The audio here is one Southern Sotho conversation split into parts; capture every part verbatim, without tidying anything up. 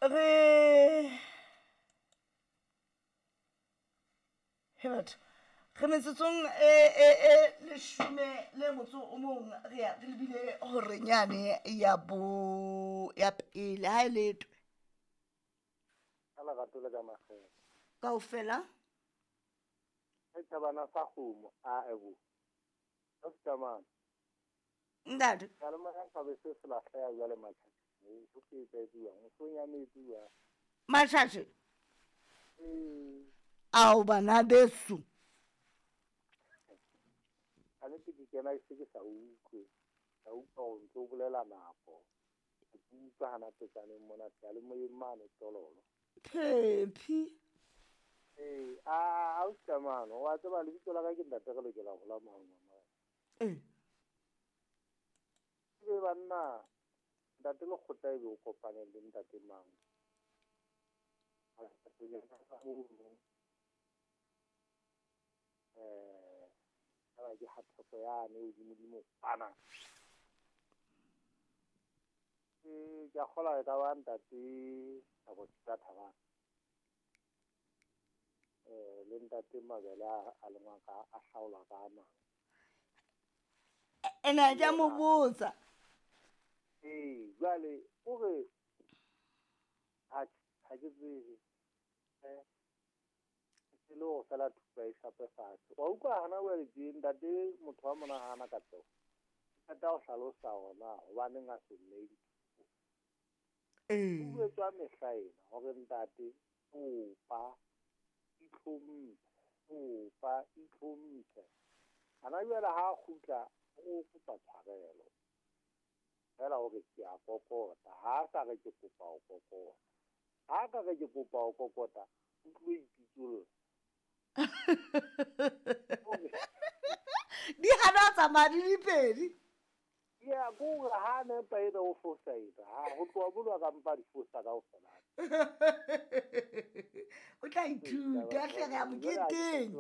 Re he batho re metsotsong e e e leshome le motso o mong re ya re lebile horeng yane ya bo ya pele ha e letwe. Ka lerato le ka makgethe. Kaofela. Setjhabana sa kgomo a ebo. Ka setjhamana. Ntate. Seyalemoya sa be se se lahleha jwale matjhatjhe. Ho se etsaetsuwang, ho so nyametsuwa. Matjhatjhe. Ee. Ao bana beso. Ka nnete ke kena ke se ke sa utlwe. Ka utlwa hore ntso bolela nako. Ke utlwa hana petsaneng mona seyalemoyeng mane Tololo. Phephi. Ee, a a o setjhamana, wa tseba lebitso la ka ke ntate re lokela ho la mohau wa Morena. Ee. Ebe banna ntate Lekgotla ebe o kopane le ntate mang? Eh, ba ke hathoko yane hodimodimo kwana. Eh, ke a kgolwa e ka ba ntate Thabo Thabang. Eh, le ntate Mabele a a lengwa ka a hlaolwa ka a mang. Ene ke a mo botsa. Ee, jwale o re atjhe ha ke tsebe. Eh, e le hore feela thupa e shape fatshe. Wa utlwa hana jwale tje ntate motho wa mona hana katleho. Qeta ho hlalosa hore na hobaneng a se nnehe dithupo. Ee. Ho jwetswa mehla ena hore ntate kopa itlhomphe, kopa itlhomphe. Hana jwale ha kgutla o kopa tshwarelo. Feela hore ke a kokota, ha a sa re ke kopa ho kokota. Ha ka re ke kopa ho kokota, o tlo ipitsolla. Di hana ho tsamaya di le pedi. Ya, ke hore ha nepa ena o fosa ena, ha ho tloha mono a ka mpa di fosa kaofela. O tla ithuta hle re ya moketeng.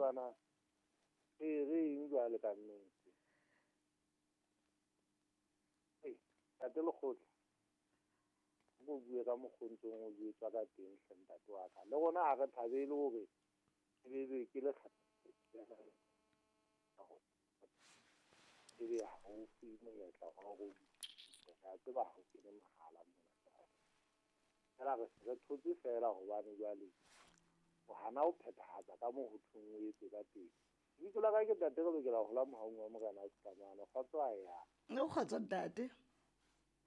Ee, re eng jwale ka nnete. Ee, ntate Lekgotla, o bue ka mokgo o ntsong o jwetswa ka teng hle ntate wa ka. Le rona ha re thabele hore ebe ke le ebe ha o fuwe monyetla wa hore re a tseba ha o kene mohala mona. Feela re se re thotse feela hobane jwale o hana ho phethahatsa ka moo ho thweng o etse ka teng. Lebitso la ka ke ntate re lokela ho la mohaung wa Morena Setlamane. Kgotso a ya. O kgotso ntate.